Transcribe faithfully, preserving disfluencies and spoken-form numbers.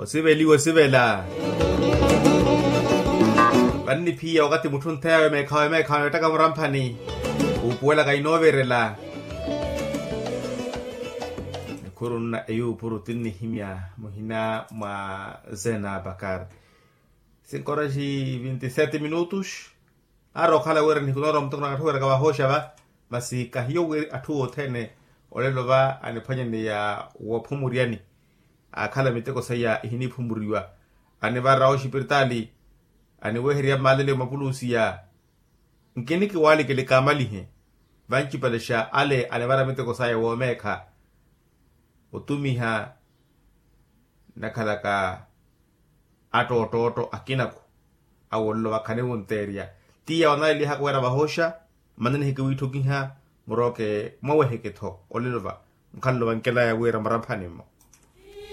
Osiveliwa osivela. Vanniphiya wakathi mutthu ontheyawe meekhawe meekhawe ettaka muramphani. Wuupuwelaka inooverela. Nikhuru nna eyuupuru tinnihimya muhina mwa zena bakar. Cinco horas e vinte e sete minutos. Aari okhala wira nihiku noorowa muteko na katthu wira kavahooxa va. Masi kahiyo wira atthu othene olelo va aniphwanyaneya woophumuryani. Aakhala miteko saya ehiniphumuriwa. Anivara oxipiritaali. Aniweherya maalele mapulusiya. Nkinikiwalikele kaamalihe. Vancipalexa ale anivara miteko saya woomeekha. Otumiha nakhalaka attoottootto akinako. Awo nlo vakhani wunteerya. Tiya wanalelihaka wira vahooxa. Mananihikiwiitthokiha. Murooke mwaweheke-tho olelo va. Mukhanlo vankelaya wira muramphani-mo.